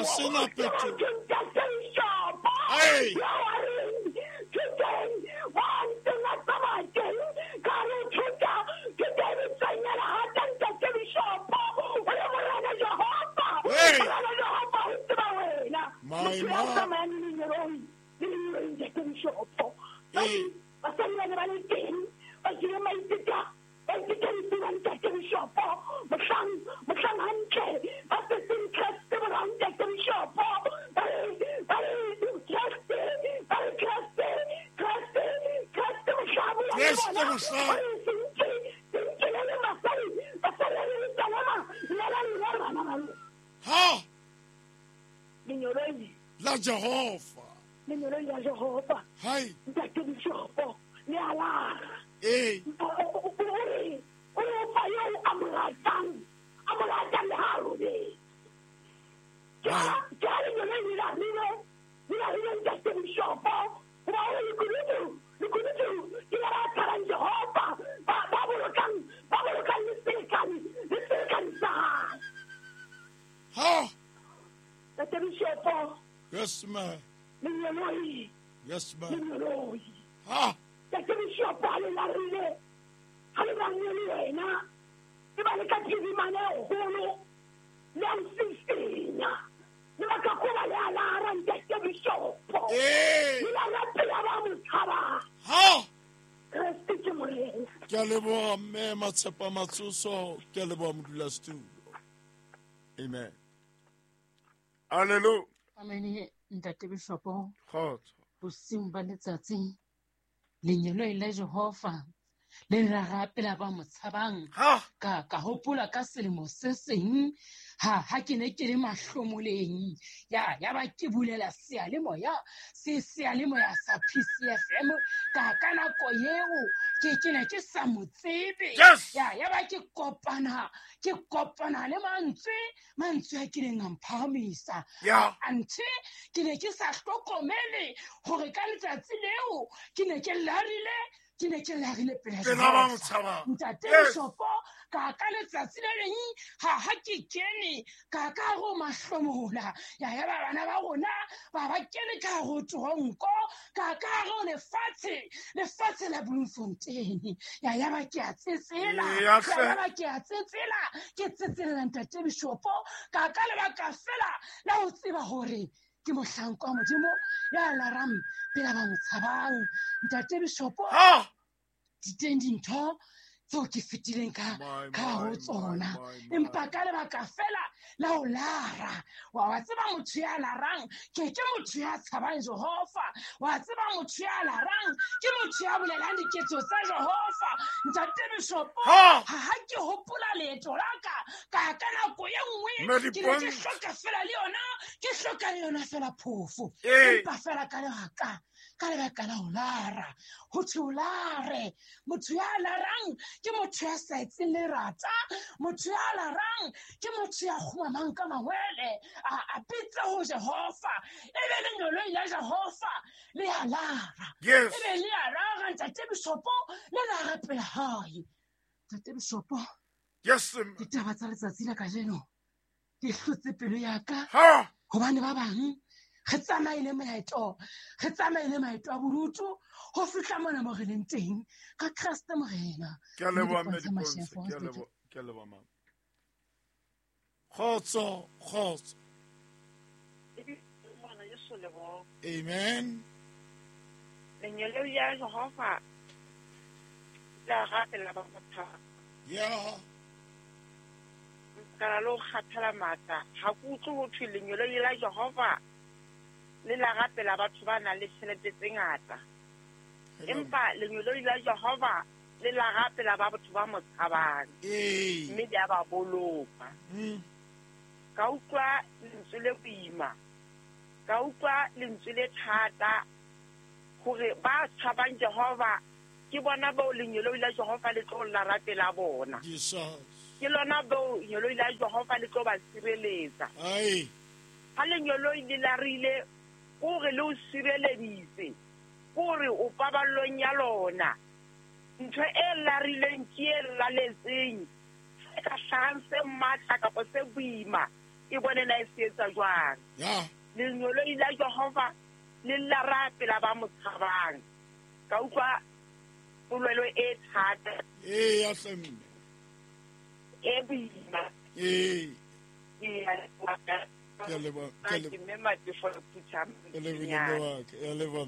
Ha sena phetoho. Hey. Hey. My ma. Hey. Kreste mohlang. Ha. La Jehova. Lengeloi la Jehova. Hai. Ntate Bishopo, le a lara. Ee. O re o fa eo a mo ratang le ha a robetse. Ke ha lengeloi le larile ntate Bishopo, hoba o re lekunutu ke la ba tshabang Jehova, ba bolokang le selekane sa hae. Ha. Ntate Bishopo. Yes, ma'am. Lengeloi. Yes, ma'am. Lengeloi. Ha. Ntate Bishopo ha le larile, ha le larile le wena, e ba le ka phirimana e kgolo, le a nsisinya. Le baka koba le a lara ntate Bishopo. Ee. Le lara pela ba mo tshabang. Ha. Kreste ke Morena. Ke a leboha mme Matshepa Matsoso, ke a leboha modulasetulo. Amen. Hallelujah. Amen, ntate Bishopo. Kgotso. Bosiung ba letsatsi, lengeloi la Jehova le lara pela ba mo tshabang. Ha. Ka hopola ka selemo se seng ha ke ne ke le mahlomoleng, ya ba ke bulela seyalemoya se seyalemoya sa PCFM ka nako eo ke ne ke sa mo tsebe. Yes. Ya ba ke kopana le mantswe a kileng a mphahamisa. Ya. Anthe ke ne ke sa hlokomele hore ka letsatsi leo ke ne ke larile pela Jehova. Ntate Bishopo, ka letsatsi le leng ha ke kene ka go mahlomola, ya ba bana ba rona ba kene ka go tronko, ka go lefatshe la Bloemfontein. Ya ba ke a tsetsela, ya ba ke a tsetsela, ke tsetselela ntate Bishopo ka lebaka fela la ho tseba hore ke mohlanka wa Modimo ya larang pela ba mo tshabang. Ntate Bishopo, di teng dintho tseo ke fetileng ka ho tsona, empa ka lebaka fela la ho lara. Wa tseba motho ya larang ke motho ya tshabang Jehova. Wa tseba motho ya larang ke motho ya bolelang diketso tsa Jehova. Ntate Bishopo, ha ke hopola leeto la ka nako e nngwe ke ne ke hloka fela le yona, ke hloka le yona fela phofo, empa fela ka lebaka la ho lara. Ho thwe o lare, motho ya larang ke motho ya sa etseng lerata, motho ya larang ke motho ya kgumamang ka mangwele a bitsa ho Jehova, ebe lengeloi la Jehova le a lara. Yes. Ebe le a lara ntate Bishopo, le lara pela hae. Ntate Bishopo, yes, ditaba tsa letsatsi la kajeno di hlotse pelo ya ka, hobane ba bang re tsamaile maeto a bodutu ho fihla mona mo re leng teng ka Kreste Morena. Ke a leboha mme Dipontshe, ke a leboha mama. Kgotso, kgotso. Amen. Lengeloi la Jehova la rapela ba mo tshabang. Yeah. Ka lo kgathala matla, ha ke utlwe ho thwe lengeloi la Jehova le la rapela batho ba nang le tjhelete tse ngata. Empa lengeloi la Jehova le la rapela ba batho ba mo tshabang. Mme le a ba boloka. Ka utlwa lentswe le boima, ka utlwa lentswe le thata hore ba tshabang Jehova ke bona bao lengeloi la Jehova le tlo la rapela bona. Jesus. Ke lona bao lengeloi la Jehova le tlo ba sireletsa. Ai. Ha lengeloi le larile hore le o sireleditse, hore o paballong ya lona. Ntho e larileng ke e laletseng, se ka hlahang se matla kapa se boima, E bone na e se etsa jwang. Ya. Lengeloi la Jehova le lla rapela ba mo tshabang. Ka utlwa polelo e thata. Ee, ya hle mme. E boima. Ee. Ke a leboha. Ke a leboha. Ke mme Matefo Phutha. Ke lebohile mme wa ka. Ya leboha.